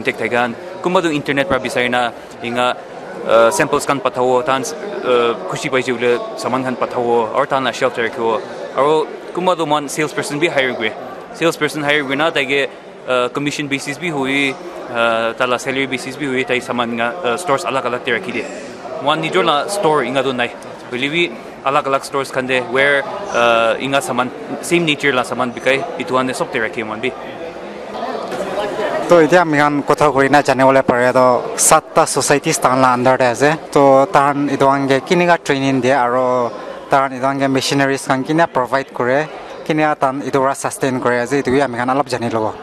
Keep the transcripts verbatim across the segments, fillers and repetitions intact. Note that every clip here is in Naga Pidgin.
contact thaka khan, kunba tu internet para bisari na inga uh, samples khan pathabo, tahan uh, khushi paise bole saman khan pathabo aru tahan la shelf te rakhibo. Aru kunba tu mohan sales person bi hire kure, sales person hire kurina taike uh, commission basis bi hui, uh, tala salary basis bi hui, tai saman nga uh, stores alag alag te rakhi de. Mohan nijor la store inga tu nai, hoile bi alag alag stores khan de where uh, inga saman, same nature la saman bikai, itu khan de sob te rakhi mohan bi. To etia ami khan kotha kuri na jane bole pare to satta societies tahan la under te ase. To tahan etu khan ke kinika training dia aro tahan etu khan ke machineries khan kina provide kure, kina tahan etu para sustain kure ase, etu bi ami khan alop jani lobo.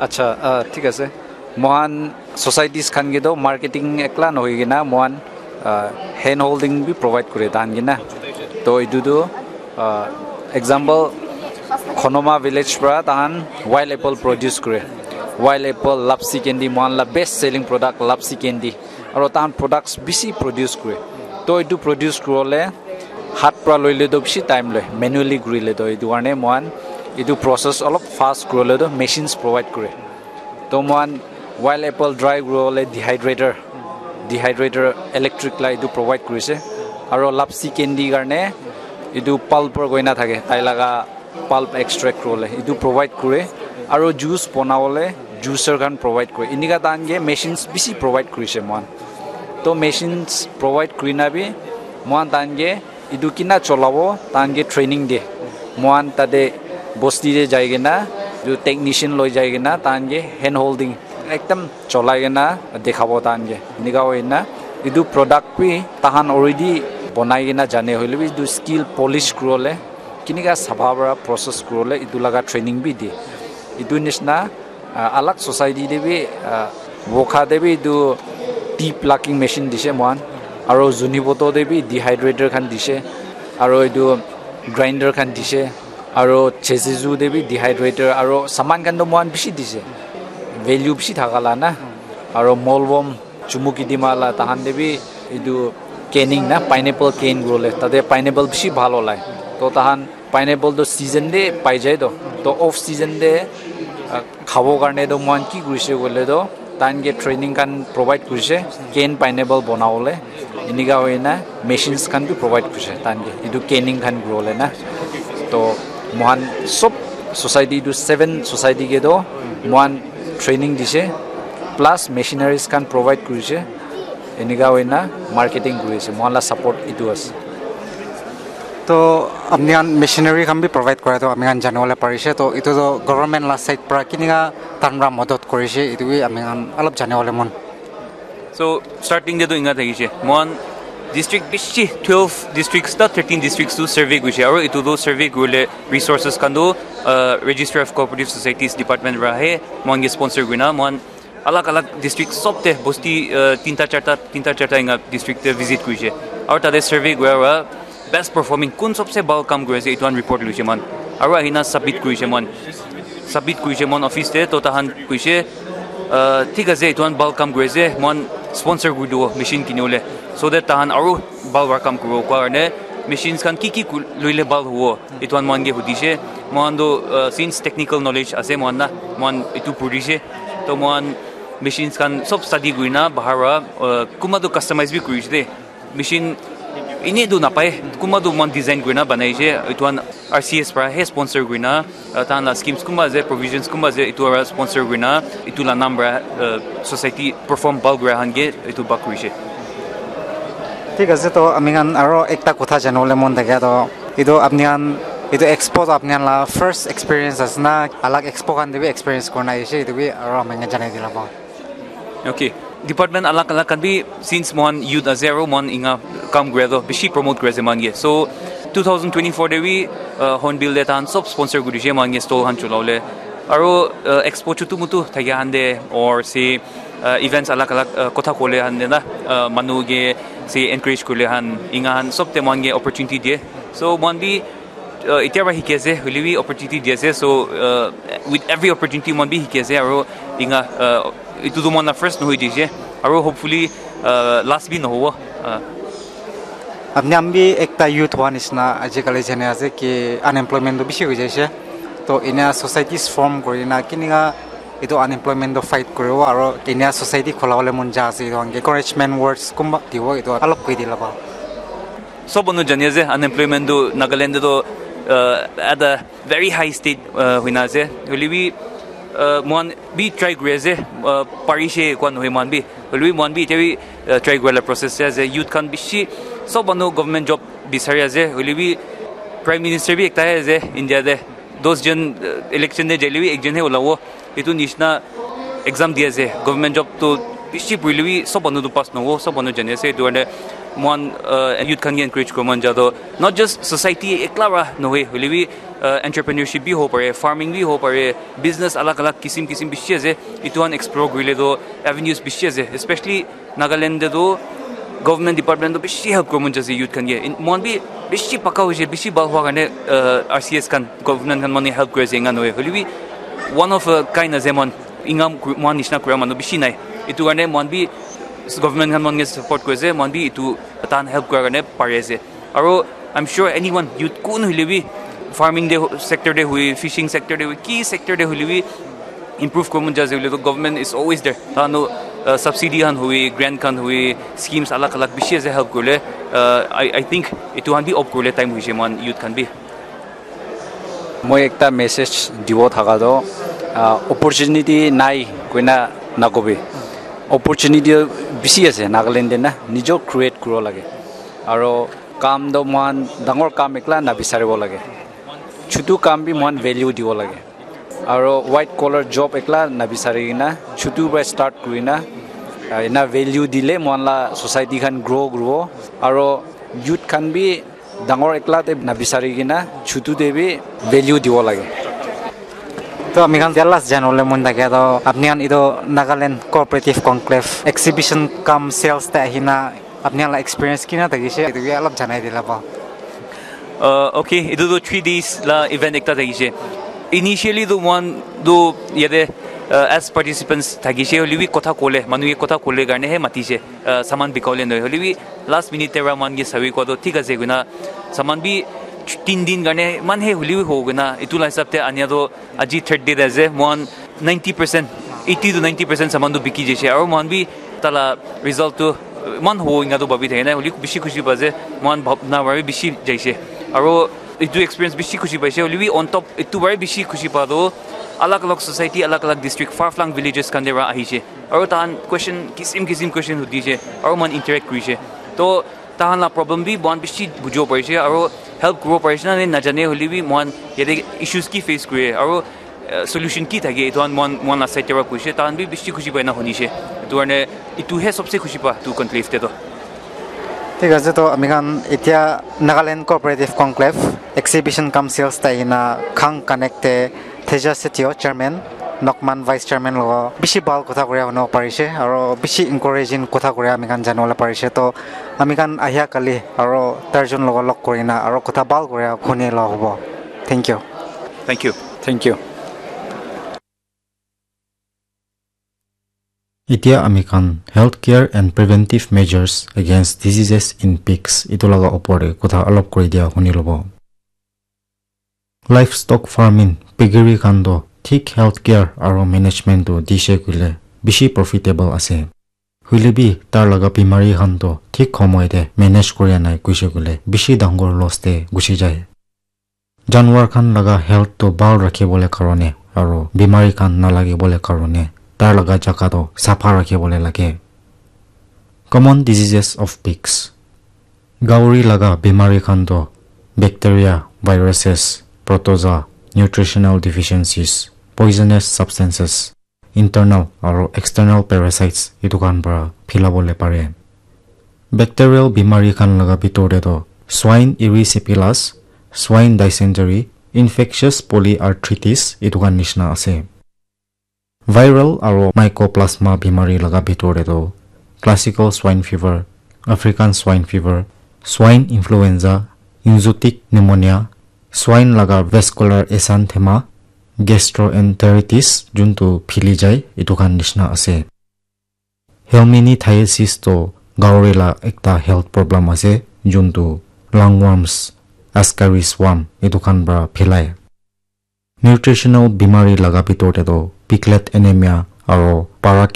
Acha, ah, thik ase. Mohan societies khan ke to marketing ekla nohoi kena mohan uh, hand holding bi provide kure tahan kena. To etu tu uh, example Khonoma village para tahan wild apple produce kure. Wild apple, lapsi candy, mohan la best selling product lapsi candy. Aro tahan products bisi produce kure. To etu produce kurole hat para loile to bisi time loi, manually kurile to etu karne mohan etu process olop fast kurole to machines provide kure. To mohan wild apple dry kuribole dehydrator, dehydrator electric la etu provide kurise. Aro lapsi candy karne etu pulper koina thake, tai laga pulp extract kuribole etu provide kure. Aro juice bonabole juicer khan provide kure. Enika tahan ke machines bisi provide kurise mohan. To machines provide kurina bi mohan tahan ke etu kina cholabo tahan ke training de. Mohan tate bosti te jai kena etu technician loi jai kena tahan ke hand holding ekdam cholai kena dekhabo tahan ke. Enika hoina etu product bi tahan already bonai kena jane hoile bi etu skill polish kuribole kinika sapha para process kuribole etu laga training bi de. Etu nishina uh, alag society te bi uh, Wokha te bi etu tea plucking machine dise mohan, aro Zunheboto te bi dehydrator khan dise, aro etu grinder khan dise, aro Jesusu te bi dehydrator aro saman khan to mohan bisi dise, value bisi thaka la na, aro Molbom Chumukidima la tahan te bi etu canning na pineapple cane kuribole tate pineapple bisi bhal olai. To tahan pineapple to season te pai jai to. To off season te uh, khabo karne to mohan ki kurise koile to tahan ke training khan provide kurise cane pineapple bonabole. Enika hoina machines khan bi provide kurise tahan ke etu canning khan kuribole na. To mohan sob society tu seven society ke to mohan training dise plus machineries khan provide kurise. Enika hoina marketing kurise, mohan la support etu ase. To apni khan machinery khan bi provide kora to ami khan jane bole parise. To etu to government la side para kinika tahan para madad kurise, etu bi ami khan alop jane bole mon. So starting te to inga thakise, mohan district bisi twelve districts ta thirteen districts tu survey kurise, aro etu to survey kurile resources khan to uh, Registrar of Cooperative Societies Department para he mohan ke sponsor kurina mohan alag alag district sob te bosti uh, tinta charta tinta charta inga district te visit kurise, aro tate survey kura para best performing kun sobse bhal kam kuri ase etu khan report loise mohan, aro ahina submit kurise mohan, submit kurise mohan office te. To tahan kuise uh, thik ase etu khan bhal kam kuri ase, mohan sponsor kuri dibo machine kinibole, so that tahan aro bhal para kam kuribo kua karne machines khan ki ki ku- loile bhal hobo etu khan mohan ke hudise. Mohan to uh, since technical knowledge ase mohan na, mohan etu purise, to mohan machines khan sob study kurina bahar para uh, kunba to customize bi kurise de. Machine ine tu napai, kunba tu mohan design kurina banaise. Etu khan R C S para he sponsor kurina uh, tahan la schemes kunba ase, provisions kunba ase, etu para sponsor kurina etu la naam para uh, society perform bhal kura khan ke etu bhag kurise. Thik ase, to ami khan aro ekta kotha jane bole mon thake to, etu apni khan etu expo to apni khan la first experience ase na, alag expo khan te bi experience kurina aise, etu bi aro ami khan janai dila pao. Okay, department alag alag khan bi since mohan youth ase aro mohan inga kam kura to bisi promote kuri ase mohan ke. So two thousand twenty-four te bi uh, Hornbill te tahan sob sponsor kuri dise mohan ke stall khan cholabole. Aro uh, expo chutu mutu thakia khan te or se uh, events alag alag uh, kotha kole khan te na uh, manu ke se encourage kurile khan inga khan sob te mohan ke opportunity diye. So mohan bi uh, etia para hiki ase, hoile bi opportunity di ase. So uh, with every opportunity mohan bi hiki ase aro inga uh, etu tu mohan la first nohoi dise aro hopefully uh, last bi nohobo. Uh, apni khan bi ekta youth howa nishina ajikali jane ase ki unemployment tu bishi hoi jaise, to ena societies form kurina kinika Etu unemployment to fight kuribo aro India society khulabole mon ja ase, etu encouragement words kumba dibo, etu alop koi dile bhal. Sob manu jani ase unemployment tu Nagaland te to, uh, at a very high state, uh, hoina ase. Hoile bi, uh, mohan bi try kuri ase, uh, parishe koa nohoi mohan bi. Hoile bi mohan bi etia bi, uh, try kura la process te ase. Youth khan bishi, sob manu government job bisari ase. Hoile bi Prime Minister bi ekta he ase India te. Dos jon, uh, election te jaile bi ekjon he ulabo. Etu nishina exam di ase. Government job tu bishi purile bi sob manu tu pass nohobo, sob manu jani ase. Etu karne mohan, uh, youth khan ke encourage kura mon ja to, not just society ekla para nohoi, hoile bi, uh, entrepreneurship bi hobo pare, farming bi hobo pare, business alag alag kisim kisim bishi ase. Etu khan explore kurile to avenues bishi ase, especially Nagaland te tu government department tu bishi help kura mon jai ase youth khan ke. In- mohan bi bishi paka hoise, bishi bhal hua karne, uh, R C S khan, government khan mane help kuri ase, enga nohoi. Hoile bi one of a kind ase, mohan inga kuri- mohan nishina kura manu bishi nai. Etu karne mohan bi government khan mohan ke support kuri ase, mohan bi etu tahan help kura karne pari ase. Aro I'm sure anyone, youth kun hoile bi, farming te ho- sector te hui, fishing sector te hui, ki sector te hoile bi, improve kuri mon jai ase hoile to government is always there. Tahan tu, uh, subsidy khan hui, grant khan hui, schemes alag alag bishi ase help kurile. Uh, I, I think etu khan bi opt kurile time hoise mohan youth khan bi. Moi ekta message dibo thaka to, uh, opportunity nai koina nakobi. Opportunity bishi ase Nagaland te na, nijo create kuribo lage. Aro kam to mohan dangor kam ekla nabisaribo lage. Chutu kam bi mohan value dibo lage. Aro white collar job ekla nabisari kena, chutu para start kurina, ah, ena value dile mohan la society khan grow kuribo. Aro youth khan bi dangor ekla te nabisari kena, chutu te bi value dibo lage. To ami khan etia last janabole mon thakia to, apni khan etu Nagaland Cooperative Conclave exhibition cum sales te ahina apni khan la experience kina thakise, etu bi alop janai dile bhal. Uh, okay, etu tu three days la event ekta thakise. Initially tu mohan tu yate, uh, as participants thakise, hoile bi kotha kole, manu ke kotha kole karne he matise, uh, saman bikabole nohoi. Hoile bi last minute te para mohan ke sabi koa tu thik ase koina, saman bi tin din karne iman he hoile bi hobo koina, etu la hisab te ania tu aji third day te ase, mohan ninety percent, eighty to ninety percent saman tu biki jaise. Aro mohan bi tala result tu iman hobo enga tu bhabi thake nai, hoile bishi khushi pa ase, mohan bhabna para bi bishi jaise. Aro etu experience bishi khushi paise, hoile bi on top etu para bishi khushi pa tu alag alag society, alag alag district, far flung villages khan te para ahise. Aro tahan question kisim kisim question hudise, aro mohan interact kurise. To tahan la problem bi mohan bishi bujibo parise, aro help kuribo parise na najane hoile bi mohan yate issues ki face kure, aro, uh, solution ki thake, etu khan mohan, mohan la side te para kurise, tahan bi bishi khushi pai na hunise. Etu karne etu he sobse khushi pa tu conclave te to. Thik ase, to ami khan etia Nagaland Cooperative Conclave exhibition cum sales te ahina Khang Connect te Teja Setio, chairman, Nokman vice chairman logo bishi bhal kotha kuria hunibo parise, aro bishi encouraging kotha kuria ami khan janibole parise. To ami khan ahia kali aro tarjon logo log kurina aro kotha bhal kuria huni la hobo. Thank you. Thank you. Thank you. Etia ami khan health care and preventive measures against diseases in pigs etu laga opor te kotha alop kuri dia huni lobo. Livestock farming, piggery khan toh thik health care aro management toh dishe koile bishi profitable ase. Hoile bi tar laga bimari khan toh thik homoi te manage kuria nai koishe koile bishi dangor loss te gushi jai. Janwar khan laga health toh bhal rakhibole karone aro bimari khan nalagibole karone tar laga jaga toh sapha rakhibole lage. Common diseases of pigs. Gauri laga bimari khan toh bacteria, viruses, protozoa, nutritional deficiencies, poisonous substances, internal aro external parasites etu khan para philabole pare. Bacterial bimari khan laga bitor te toh swine erysipelas, swine dysentery, infectious polyarthritis etu khan nishina ase. Viral aro mycoplasma bimari laga bitor te toh classical swine fever, African swine fever, swine influenza, enzootic pneumonia, swine laga vascular esanthema, gastroenteritis juntu phili jai etu khan nishina ase. Helminthiasis toh gauri la ekta health problem ase juntu lungworms, ascaris worm etu khan para philai. Nutritional bimari laga bitor te toh Piglet Anemia, aro Para